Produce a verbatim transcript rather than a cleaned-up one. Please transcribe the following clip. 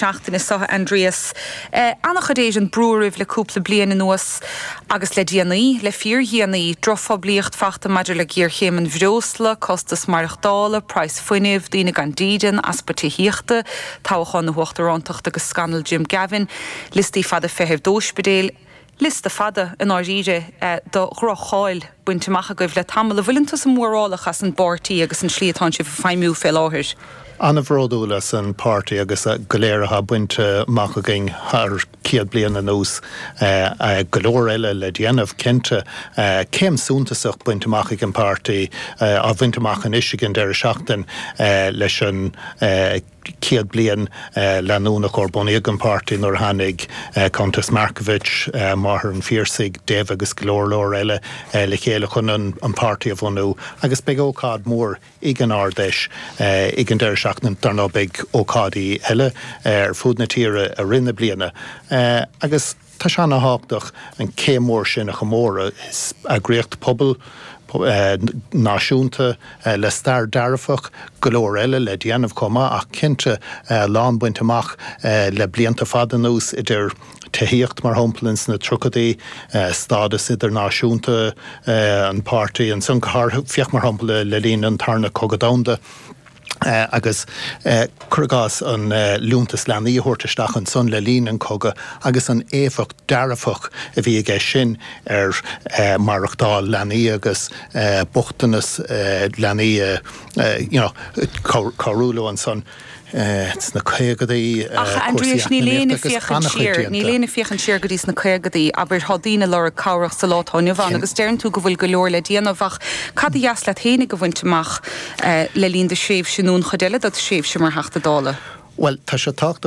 seachtaine seo, Aindrias. Eh, An-chuid Éireann brú oraibh le cúpla bliain anuas agus le déanaí, le fíordhéanaí, drochphoiblíocht faighte maidir le géarchéim an bhreosla, costas maireachtála, praghas fuinnimh, daoine gan dídean, easpa tithíochta, toghchán na huachtarántachta agus scannal Jim Gavin, liostaí fada feithimh d'ospidéil, liosta fada i ndáiríre eh, do dhroch-cháil bainte amach agaibh le tamall. An bhfuileann tusa mórálach as an bpáirtí agus an slí atá sibh ag feidhmiú fé láthair. An-bhródúil as an páirtí agus go léir atá bainte amach againn thar céad bliain anuas eh, go leor eile le déanamh cinnte eh, céim suntasach bainte amach ag an páirtí á bhaint amach anois ag an deireadh seachtain leis an céad bliain leanúnach ó bunaíodh an páirtí nuair a tháinig Countess Markievicz, máthair an Phiarsaigh, Dev agus go leor leor eile le chéile chun an, an páirtí a bhunú agus beidh ócáid mór ag an Ard-Fheis ag an deireadh seachtaine dar ndóigh beidh ócáidí eile ar fud na tíre i rith na bliana agus tá sé an-tábhachtach an céim mór sin a chomóradh is eagraíocht pobail náisiúnta le stair dearfach go leor eile le déanamh chomh maith ach cinnte lán bainte amach le blianta fada anuas idir tithíocht mar shampla ins na tríochaidí stádas idirnáisiúnta an páirtí ansan féach mar shampla le linn an tarna cogadh domhanda. Uh, agus uh, cuir i gcás an uh, liúntas leanaí a thabhairt isteach ansan le linn an cogadh agus an éifeacht dearfach a bhí aige sin ar uh, maireachtáil leanaí agus uh, bochtanas uh, leanaí uh, uh, you know, cabhrú leo ansan. sna caogadaí. Ach Aindrias níl éinne ag féachaint siar, níl éinne ag féachaint siar go dtí sna caogadaí abair tá daoine ag lorg cabhrach sa lá atá inniu ann agus deireann tú go bhfuil go leor le déanamh ach cad ba dheas leat féinig a bhaint amach le linn do thréimhse nó an chuid eile de do thréimhse mar Theachta Dála. Well tá sé tábhachtach